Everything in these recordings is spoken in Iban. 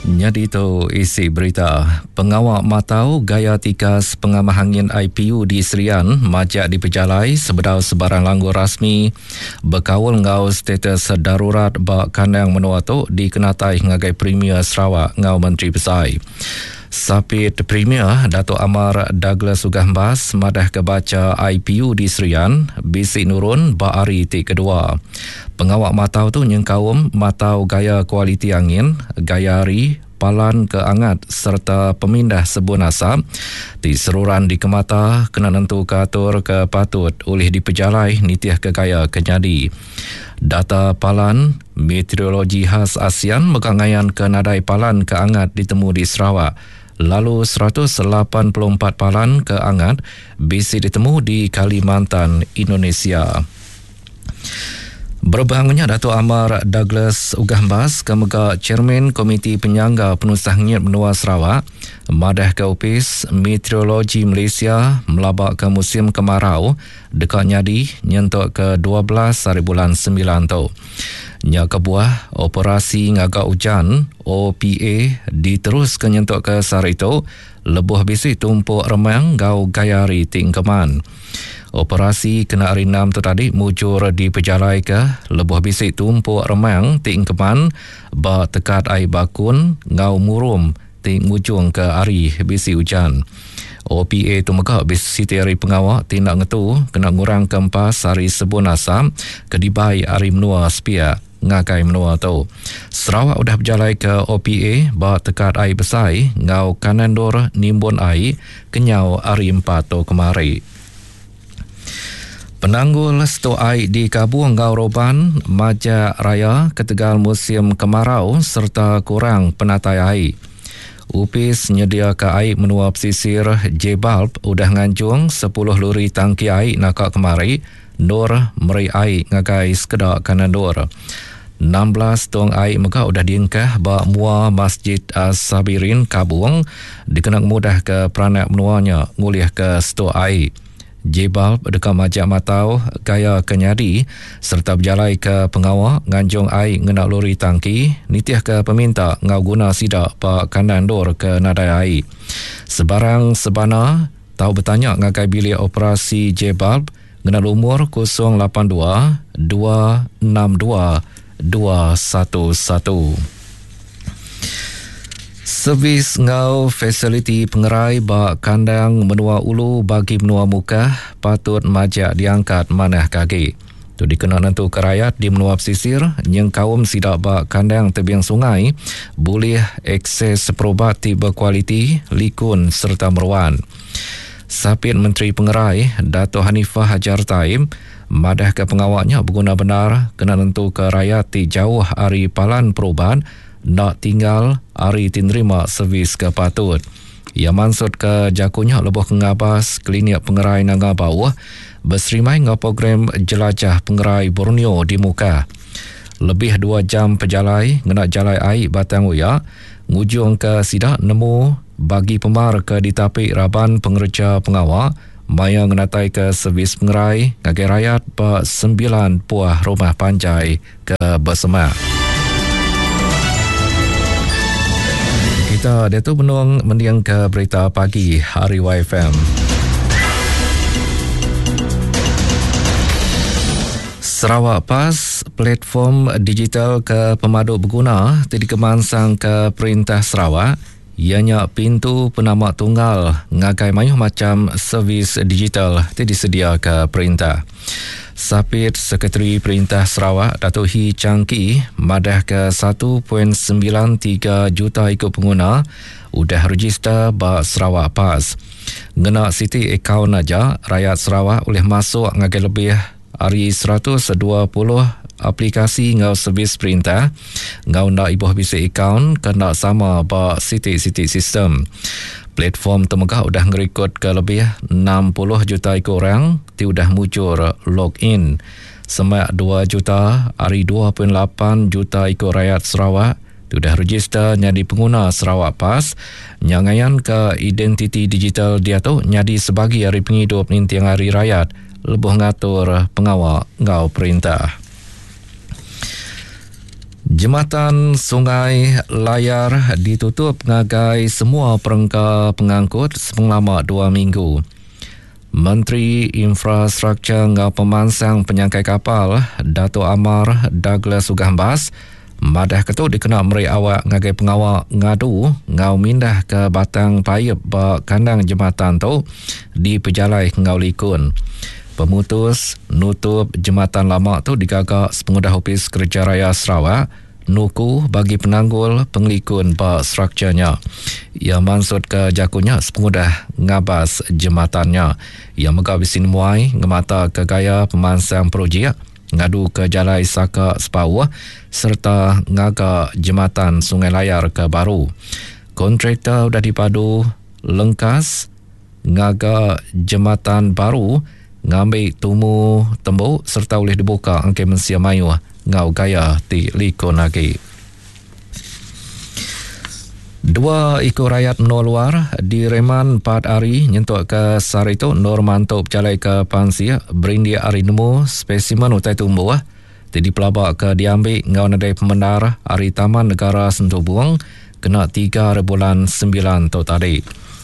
Nyadi tu isi berita. Pengawa matau gaya tikas pengamah angin IPU di Serian majak dipejalai sebedau sebarang langgur rasmi bekaul enggau status darurat ba kandang menua tu dikenatai ngagai Premier Sarawak enggau Menteri Besai. Sapit Premier Datuk Amar Douglas Uggah Embas madahka bacha IPU di Serian bisi nurun ba hari ti kedua. Pengawa matau tu nyengkaum matau gaya kualiti angin, gaya hari, palan ke angat sereta pemindah sebun asap ti seruran dikemata kena nentuka atur ke patut ulih dipejalai nitihka gaya ke nyadi. Data Palan Meteorologi Khas ASEAN mega ngayanka nadai palan ke angat ditemu di Sarawak lalu 184 palan ke angat bisi ditemu di Kalimantan, Indonesia. Berebak nya Datuk Amar Douglas Uggah Embas ke mega Chairman Komiti Penyangga Penusah Ngenyit Menua Sarawak madahka Opis Meteorologi Malaysia melabaka musim kemarau deka nyadi nyentuk ke 12 hari bulan semilan tu. Nya kebuah Operasi Ngaga Ujan, OPA, diteruska nyentuk ke sehari tu lebuh bisi tumpuk remang enggau gaya hari ti engkeman. Operasi kena hari enam tu tadi mujur dipejalaika lebuh bisi tumpuk remang ti engkeman ba Tekat Ai Bakun enggau Murum ti ngujungka hari bisi ujan. OPA tu mega bisi siti ari pengawa ti enda ngetu kena ngurangka empas ari sebun asap ke dibai ari menua sepiak ngagai menua tu. Sarawak udah bejalaika OPA ba tekat ai besai enggau kanan endur nimbun ai kenyau hari Empat tu kemari. Penanggul stuk ai di Kabung enggau Roban majak raya ketegal musim kemarau sereta kurang penatai ai. Opis Nyediaka Ai Menua Pesisir JBALB udah nganjung sepuluh luri tangki ai naka kemari endur meri ai ngagai sekeda kanan endur. 16 tong ai mega udah diengkah ba mua Masjid As-Sabirin Kabung dikena ngemudahka peranak menua nya ngulihka stuk ai. JBALB deka majak matau gaya ke nyadi sereta bejalaika pengawa nganjung ai ngena lori tangki nitihka peminta enggau guna sida ba kandang endur ke nadai ai. Sebarang sebana tau betanya ngagai bilik operasi JBALB ngena lumur 082 262 211. Servis enggau fasiliti pengerai ba kandang menua ulu bagi menua Mukah patut majak diangkat manah ke agi. Tu dikena nentuka rayat di menua pesisir nyengkaum sida ba kandang tebing sungai bulih akses perubat ti bekualiti, likun sereta meruan. Sapit Menteri Pengerai, Dato Hanifah Hajar Taib madahka pengawa nya beguna bendar kena nentuka rayat ti jauh ari palan perubat enda tinggal ari ti nerima servis ke patut. Iya mansutka jaku nya lebuh ke ngabas Klinik Pengerai Nanga Bauh beserimai enggau program Jelajah Pengerai Borneo di Mukah. Lebih dua jam pejalai ngena jalai ai Batang Oya ngujungka sida nemu bagi pemar ke ditapi raban pengereja pengawa maya ngenataika servis pengerai ngagai rayat ba sembilan puah rumah panjai ke besemak. Kita diatu benung mendingka berita pagi hari YFM. Sarawak Pass, platform digital ke pemadu beguna ti dikemansangka Perintah Sarawak iya nya pintu penama tunggal ngagai mayuh macham servis digital ti disediaka perintah. Sapit Sekretari Perintah Sarawak Datuk Hii Chang Kee madahka 1.93 juta iku penguna udah rejister ba Sarawak Pass. Ngena siti akaun aja, rayat Sarawak ulih masuk ngagai lebih ari 120 aplikasi enggau servis perintah enggau enda ibuh bisi akaun ke enda sama ba siti-siti sistem. Platform tu mega udah ngerikodka lebih 60 juta iku orang ti udah mujur log in. Semak dua juta ari 2.8 juta iku rayat Sarawak ti udah rejister nyadi penguna Sarawak Pass nya ngayanka identiti digital diatu nyadi sebagi ari pengidup ninting hari rayat lebuh ngatur pengawa enggau perintah. Jematan Sungai Layar ditutup ngagai semua perengka pengangkut sepengelama dua minggu. Menteri Infrastruktur enggau Pemansang Penyangkai Kapal, Datuk Amar Douglas Uggah Embas, madahka tu dikena meri awak ngagai pengawa ngadu enggau mindahka batang paip ba kandang jematan tu dipejalai enggau likun. Pemutus nutup jematan lama tu digaga sepengudah Opis Kereja Raya Sarawak nuku bagi penanggul pengelikun ba struktur nya. Iya mansutka jaku nya sepengudah ngabas jematan nya. Iya mega bisi nemuai ngemataka gaya pemansang projek ngaduka jalai Saka Sepauh sereta ngaga jematan Sungai Layar ke baru. Kontraktor udah dipadu lengkas ngaga jematan baru ngambi tumu tembu sereta ulih dibuka engke mensia mayuh enggau gaya ti likun agi. Dua iku rayat menua luar direman empat hari nyentuk ke sehari tu endur mantu bejalaika pansik berindik ari nemu spesimen utai tumbuh ti dipelabaka diambi enggau nadai pemendar ari Taman Negara Sentubung kena tiga ari bulan Sembilan tu tadi.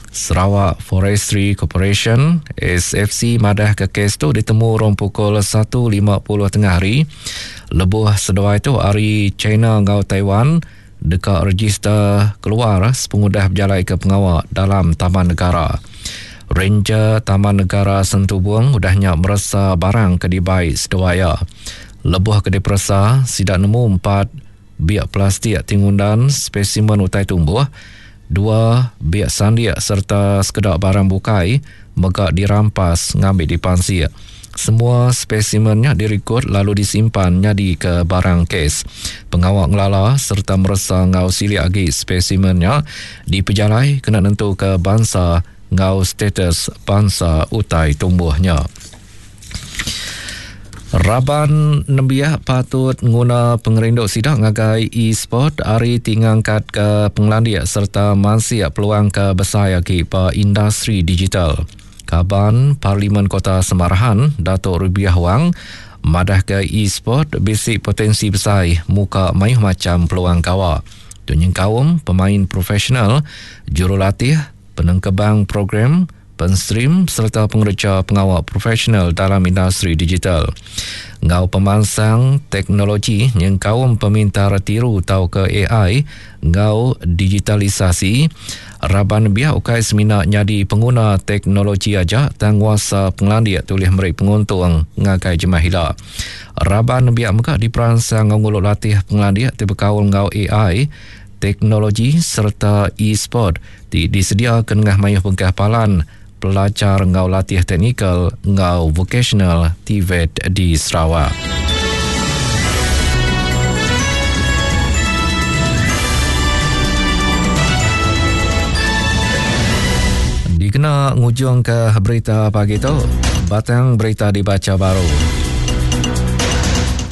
Sarawak Forestry Corporation, SFC, madahka kes tu ditemu urung pukul satu lima puluh tengah hari lebuh seduai tu ari China enggau Taiwan deka rejister keluar sepengudah bejalaika pengawa dalam Taman Negara. Ranger Taman Negara Sentubung udah nya meresa barang ke dibai seduai iya. Lebuh ke diperesa, sida nemu empat biak plastik ti ngundan spesimen utai tumbuh, dua biak sandik sereta sekeda barang bukai mega dirampas ngambi dipansik. Semua spesimen nya dirikod lalu disimpan nyadika barang kes. Pengawa ngelala sereta meresa enggau silik agi spesimen nya dipejalai kena nentuka bansa enggau status bansa utai tumbuh nya. Raban nembiak patut nguna pengerindu sida ngagai e-sport ari ti ngangkatka pengelandik sereta mansik peluang ke besai agi ba industri digital. Kaban Parlimen Kota Samarahan, Datuk Rubiah Wang madahka e-sport bisi potensi besai muka mayuh macham peluang gawa. Tu nyengkaum pemain profesional, jurulatih, penengkebang program, penstream sereta pengereja pengawa profesional dalam industri digital. Enggau pemansang teknologi nyengkaum pemintar tiru tauka ai enggau digitalisasi, raban nembiak ukai semina nyadi penguna teknologi aja tang nguasa pengelandik ti ulih meri penguntung ngagai jemah ila. Raban nembiak mega diperansang enggau ngulu latih pengelandik ti bekaul enggau ai, teknologi sereta e-sport ti disediaka nengah mayuh bengkah palan pelajar enggau latih teknikal enggau vokasional, TVET, di Sarawak. Dikena ngujungka berita pagi tu, batang berita dibacha baru.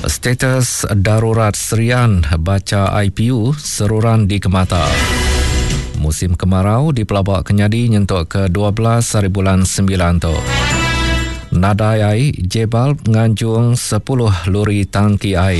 Status darurat Serian bacha IPU seruran dikemata. Musim kemarau dipelaba ke nyadi nyentuk ke 12 hari bulan 9 tu. Nadai ai, J-Bulb nganjung 10 luri tangki ai.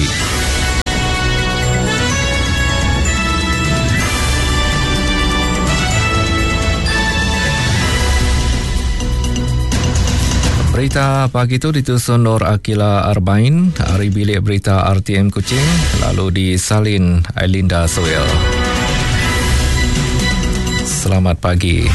Berita pagi tu ditusun Nur Akila Arbain ari bilik berita RTM Kuching lalu disalin Ailinda Suel. Selamat pagi.